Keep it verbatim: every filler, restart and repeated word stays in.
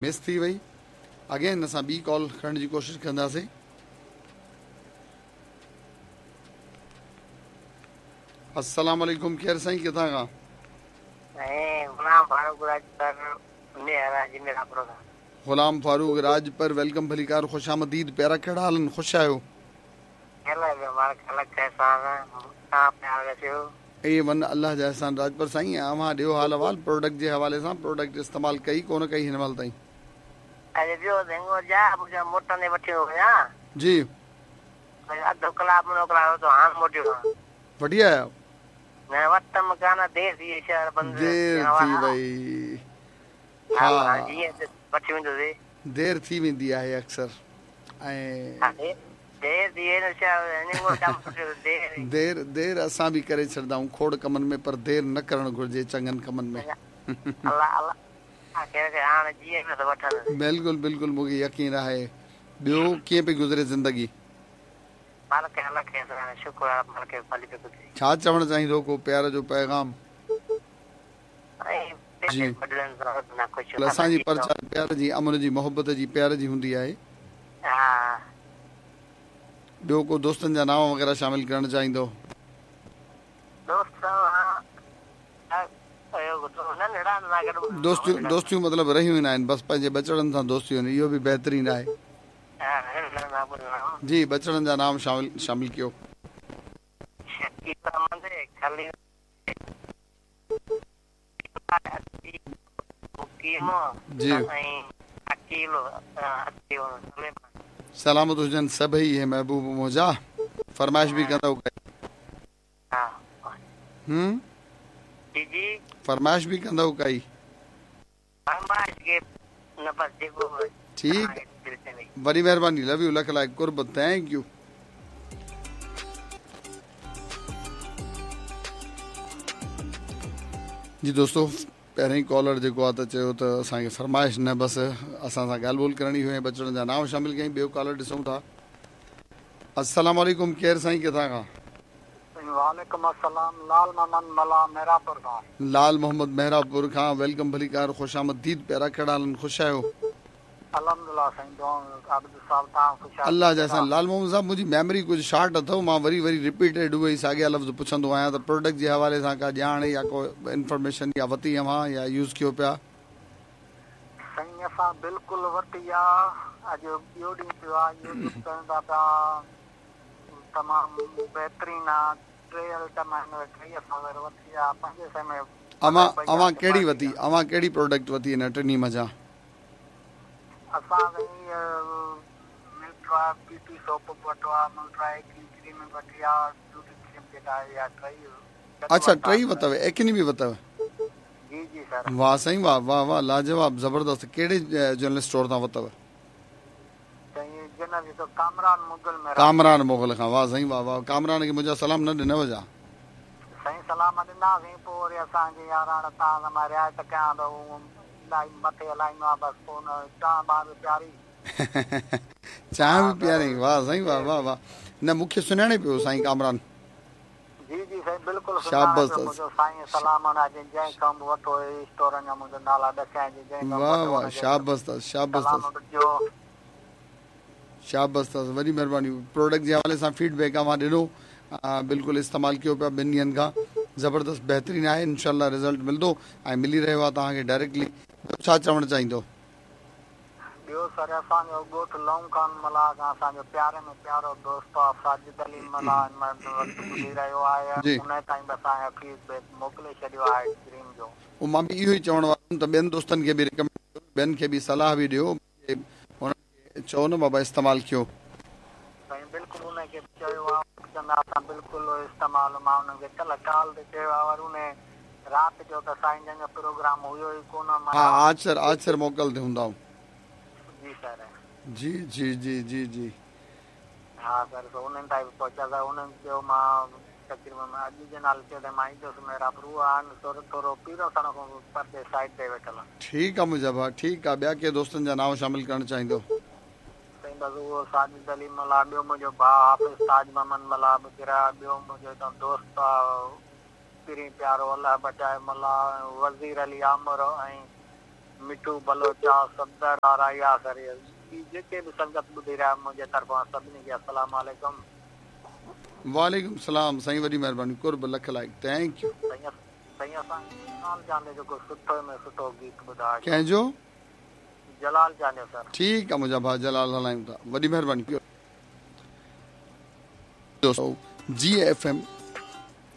Miss थी वई। Again असां ॿी कॉल करण जी कोशिशि कंदासीं। अस्सलाम वालेकुम, केरु साईं, किथां खां? गुलाम फारूक राजपर। गुलाम फारूक राजपर, welcome, भलीकार, ख़ुश आमदीद। प्यारा, कहिड़ा हाल? ख़ुशि आहियो? ए वन, अल्लाह जा एहसान। राजपर साईं, अव्हां ॾियो हाल अहिवाल प्रोडक्ट जे हवाले सां। प्रोडक्ट इस्तेमालु कई कोन कई हिन महिल ताईं? जी वठी आया? देरि थी वई। हा, देरि थी वेंदी आहे अक्सर। ऐं देरि देरि असां बि करे छॾंदा आहियूं खोड़ कमनि में, पर देरि न करणु घुरिजे चङनि कमनि में। बिल्कुलु बिल्कुलु, मूंखे यकीन आहे। ॿियो कीअं पई गुज़रे ज़िंदगी? छा चवणु चाहींदो, को प्यार जो पैगाम? जी, असांजी प्रचार प्यार जी, अमन जी, मोहबत जी, प्यार जी हूंदी आहे। ॿियो को दोस्तनि जा नाम वग़ैरह शामिल करणु चाहींदो? दोस्तियूं दोस्तियूं मतिलबु रहियूं न आहिनि, बसि पंहिंजे बचड़नि सां दोस्तियूं आहिनि, इहो बि बहितरीनु आहे। जी, बचड़नि जा नाम शामिल शामिल कयो। जी, सलामत हुजनि सभई इहे महबूब मुंहिंजा। फरमाइश बि कंदव? हम्म, फरमाइश बि कंदव काई? ठीकु, वॾी महिरबानी, लव you, लख लाइक़ कुर्ब, thank you. जी दोस्तो, पहिरीं कॉलर जेको आहे त चयो त असांखे फरमाइश न, बसि असां सां ॻाल्हि ॿोल करणी हुई ऐं बचड़नि जा नाम शामिल कयईं। ॿियो कॉलर ॾिसूं था। अस्सलाम वालेकुम, केरु साईं, किथां खां? वालेकुम अस्सलाम, लाल मोहम्मद मला मेहरापुर खां। लाल मोहम्मद मेहरापुर खां, welcome, भलीकार, ख़ुश आमदीद। प्यारा, कहिड़ा हाल? ख़ुशि आहियो? अल्हम्दुलिल्लाह साईं, आबिद साहब, तव्हां ख़ुशि आहियो? अल्लाह जा एहसान। लाल मोहम्मद साहब, मुंहिंजी मेमोरी कुझु शॉर्ट अथव, मां वरी वरी रिपीटेड उहे ई साॻिया लफ़्ज़ पुछंदो आहियां। त प्रोडक्ट जे हवाले सां का ॼाण या को इन्फॉर्मेशन या वरिती अव्हां या यूज़ कयो पिया? साईं, असां बिल्कुलु वरिती आहे, अॼु ॿियो ॾींहुं पियो आहे, यूज़ कयूं था पिया, तमामु बहितरीनु आहे। टे आइटम आहिनि, टेई असां वरिती आहे पंजे सौ में। अव्हां अव्हां कहिड़ी वरिती? अव्हां कहिड़ी प्रोडक्ट वरिती हिन टिन्ही मंझां? असां मिल्ट्रा ब्यूटी सोप वरितो आहे, मिल्ट्रा एक्नी क्रीम वरिती आहे, ब्यूटी क्रीम जेका आहे इहा टई। अच्छा, टई वरितव, एक्नी बि वरितव? जी जी सर। वाह साईं वाह, वाह वाह, लाजवाब, ज़बरदस्त। कहिड़े जनरल स्टोर तां वरितव? कामरान मुगल। कामरान मुगल खां, वाह साईं वाह वाह। कामरान खे मुंहिंजा सलाम न ॾिनव छा? साईं सलाम ॾिनदासीं, पोइ वरी असांजे याराण तव्हां मां रिआयत कयां त इलाही मथे हलाईंदो आहे, बसि पोइ हुन चांहि बांहि बि प्यारी। चांहि बि प्यारी, वाह साईं वाह वाह वाह। न मूंखे सुञाणे पियो साईं कामरान। जी जी साईं, बिल्कुलु। शाबाश साईं, सलाम जंहिं खां बि वठो स्टोरनि जा मुंहिंजो नाला ॾसाइजे, जंहिं। वाह वाह, शाबाश अथसि, शाबाश अथसि, शाबाश अथसि, वॾी महिरबानी। प्रोडक्ट जे हवाले सां फीडबैक अव्हां ॾिनो, बिल्कुलु इस्तेमालु कयो पिया ॿिनि ॾींहंनि खां, ज़बरदस्त बहितरीनु आहे, इनशाला रिज़ल्ट मिलंदो ऐं मिली रहियो आहे तव्हांखे डायरेक्टली। छा चवणु चाहींदो? ॿियो सर, असांजो ॻोठ लौंग खान मलाह खां असांजो प्यारे में प्यारो दोस्त आहे साजिद अली मलाह, ॿुधी रहियो आहे, उन ताईं बि असांजो फीडबैक मोकिले छॾियो आहे क्रीम जो। उहो मां बि इहो ई चवण वारो हुयुमि त ॿियनि दोस्तनि खे बि रिकमेंड कयो, ॿियनि खे बि सलाह बि ॾियो, हुननि खे चओ न बाबा इस्तेमालु कयो। साईं बिल्कुलु, उनखे चयो आहे, चवंदा असां बिल्कुलु इस्तेमालु, मां हुनखे कल्ह कॉल ते चयो आहे, वरी उन राति जो त साईं जन जो प्रोग्राम हुयो ई कोन। हा, आचर आचर मोकल ते हूंदा। जी सर। जी जी जी जी जी हा सर, त उन्हनि ताईं बि पहुचां, उन्हनि चयो मां तक़रीबन अॼु जे नाले चयो त मां ईंदुसि मेहरापुर, उहा आहिनि थोरो थोरो पीरो सण खां परते साइड ते वेठल आहिनि। ठीकु आहे मुंहिंजा भाउ, ठीकु आहे। ॿिया के दोस्तनि जा नाम शामिल करणु चाहींदो? साईं बसि उहो साजिद अली मलाह, ॿियो मुंहिंजो भाउ हाफ़िज़ ताज मोहम्मद मलाह बि, ॿियो मुंहिंजो दोस्त आहे पीरी प्यारो अल्लाह बचाए मलाह, वज़ीर अली आमर ऐं मिठू बलोच आहे, सदर आहे, राया सर, ॿी जेके बि संगत ॿुधी रहिया मुंहिंजे तरफ़ां सभिनी खे अस्सलाम वालेकुम। वालेकुम सलाम साईं, वॾी महिरबानी, कुर्ब, लख like, thank you. Sai Sai असां जलाल चांडियो जो को सुठो में सुठो गीत ॿुधाए। कंहिंजो? जलाल चांडियो सर। ठीकु आहे मुंहिंजा भाउ, जलाल हलायूं था, वॾी महिरबानी। दोस्तो जी एफ एम